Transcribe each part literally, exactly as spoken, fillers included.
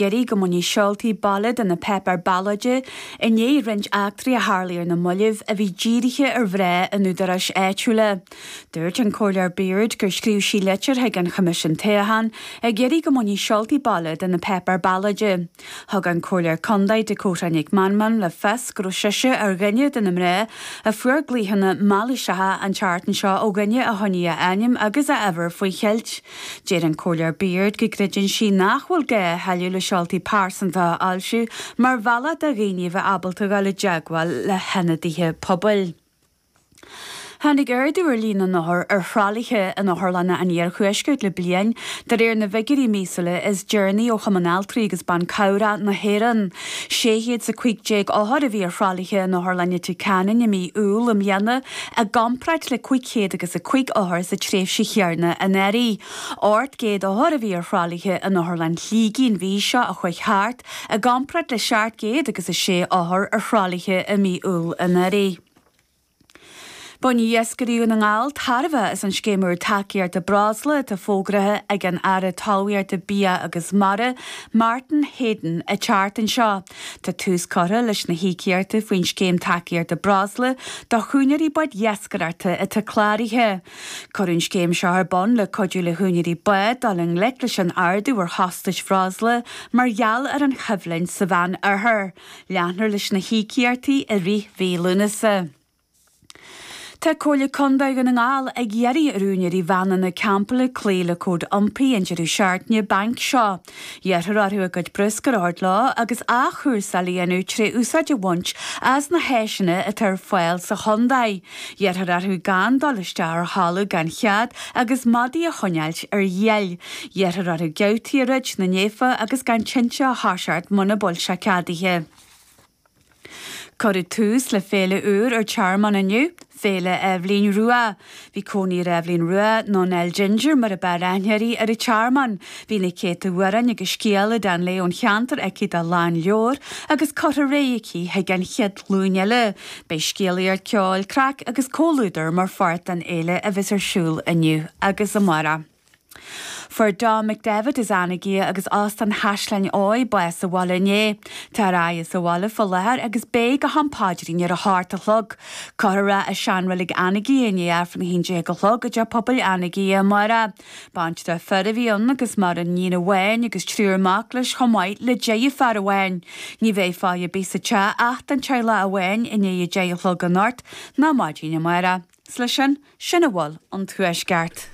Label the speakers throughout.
Speaker 1: iarraidh go mbainfí seoltaí baile de na páipéir ballóide i ndiaidh roinnt eachtraí a tharlaigh ar na mallaibh a bhí dírithe ar mhná in údaráis áitiúla. Dúirt an Comhairleoir Beard gur scríobh sí litir chuig an Choimisiún Toghcháin ag iarraidh go mbainfí seoltaí baile de na páipéir ballóide. Thug an Comhairleoir Contae Dakota Nic Meanman le fios go raibh sise ar dhuine de na mná a fuair glaochanna mailíseacha an tseachtain seo ó dhuine a choinnigh a ainm agus a uimhir faoi cheilt. Deir an Comhairleoir Beard go gcreideann sí nach bhfuil gá a thuilleadh le seoltaí pearsanta a fhoilsiú mar bhealach do dhaoine a bheith ábalta dul i dteagmháil le hionadaithe pobail. Tháinig ardú ar líon na n-othar ar thralaithe in otharlanna an iarthuaiscirt le bliain, de réir na bhfigiúirí míosúla is deireanaí ó Chumann Altraí agus Ban Cabhrach na hÉireann. Sé chéad is a cúig déag othar a bhí ar thralaithe in Otharlann Leitir Ceanainn i mí Iúil i mbliana, i gcomparáid le cúig chéad agus a cúig othar sa tréimhse chéanna anuraidh. Ocht gcéad othar a bhí ar thralaithe in Otharlann Shligigh an mhí seo a chuaigh thart, i gcomparáid le seacht gcéad agus a sé othar ar thralaithe i mí Iúil anuraidh. Bainfidh iascairí Dhún na nGall tairbhe as an scéim úr tacaíochta breosla atá fógraithe ag an Aire Talmhaíochta, Bia agus Mara, Martin Heydon, an tseachtain seo. Tá tús curtha leis na híocaíochtaí faoin scéim tacaíochta breosla do úinéirí báid iascaireachta atá cláraithe. Cuireadh an scéim seo ar bun le cuidiú le húinéirí bád dul i ngleic leis an ardú ar chostais bhreosla mar gheall ar an choimhlint sa Mheánoirthear. Leanfar leis na híocaíochtaí i rith mhí Lúnasa. Tá Comhairle Contae Dhún na nGall ag iarraidh ar úinéirí veaineanna campála cloí le cód iompair an deireadh seachtaine bainc seo. Iarrthar orthu a gcuid bruscair a thabhairt leo agus athchúrsáil a dhéanamh tré úsáid a bhaint as na háiseanna atá ar fáil sa chontae. Iarrthar orthu gan dul isteach ar thalamh gan chead agus madaí a choinneáilt ar iall. Iarrthar orthu geaftaí a dhruid na néafa agus gan tinte a thoiseacht muna bhfuil sé ceadaithe. Cuireadh tús le féile úr ar Tearmann inniu, Féile Eibhlín Rua. Bhí cónaí ar Eibhlín Rua, nó Nell Ginger mar a b'fhearr aithne uirthi, ar an Tearmann. Bhí na céadta amhrán agus scéal i dteannta léi ón cheantar aici dá lánleabhar agus curtha ar aghaidh aici chuig an chéad ghlúin eile. Beidh scéalaíocht, ceol, craic agus comhluadar mar pháirt den fhéile a bheas ar siúl inniu agus amárach. Fuair Dom McDevitt as Anagaire agus Óstán Chaisleáin Eoigh bás sa bhaile inné. Tá ar aghaidh sa bhaile fá láthair agus beidh go ham paidrín ar a hocht a chlog. Cuirfear é i seanreilig Anagaire i ndiaidh Aifreann a haon déag a chlog i dTeach Pobail Anagaire amárach. Baintreach fir a bhí ann agus maireann iníon amháin agus triúr mac leis chomh maith le deirfiúr amháin. Ní bheidh fáidhe ar bith sa teach ach don teaghlach amháin i ndiaidh a deich a chlog anocht ná maidin amárach. 'S leis sin, sin a bhfuil ón Tuaisceart.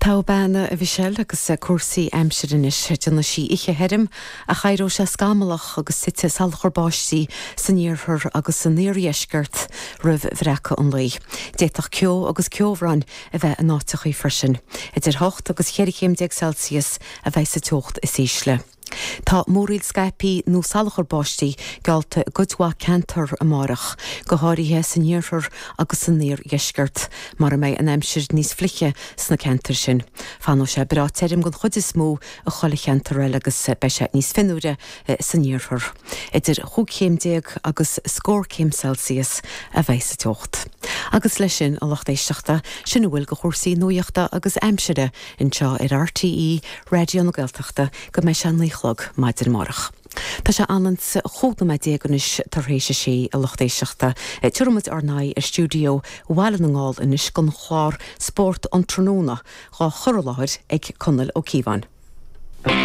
Speaker 2: Togha bean, a Mhichelle, agus cúrsaí aimsire anois. Déanfaidh sí oíche thirim ach éireoidh sé scamallach agus titfidh salachar báistí san iarthar agus san iardheisceart roimh bhreacadh an lae. D'fhéadfadh ceo agus ceobhrán a bheith in áiteachaí freisin. Idir hocht agus cheithre chéim déag Celsius a bheidh sa teocht is ísle. Tá múraíl scaipthe nó salachar báistí geallta i gcuid mhaith ceantar amárach, go háirithe san iarthar agus san iardheisceart, mar a mbeidh an aimsir níos fliche sna ceantair sin. Fanfaidh sé breá tirim den chuid is mó i chuile cheantar eile agus beidh sé níos fionnuaire san iarthar. Idir chúig chéim déag agus scór céim Celsius a bheidh sa teocht. Agus leis sin, a lucht éisteachta, sin a bhfuil de chúrsaí nuachta agus aimsire anseo ar RTÉ Raidió na Gaeltachta go mbeidh sé naoi a chlog maidin amárach. Tá sé anonn chúig nóiméad déag anois tar éis a sé, a lucht éisteachta. Tabharfaidh muid ár n-aghaidh ar stiúideo Bhaile na nGall anois don chlár Spórt an Tráthnóna, dhá chur i láthair ag Conall Ó Cíobháin.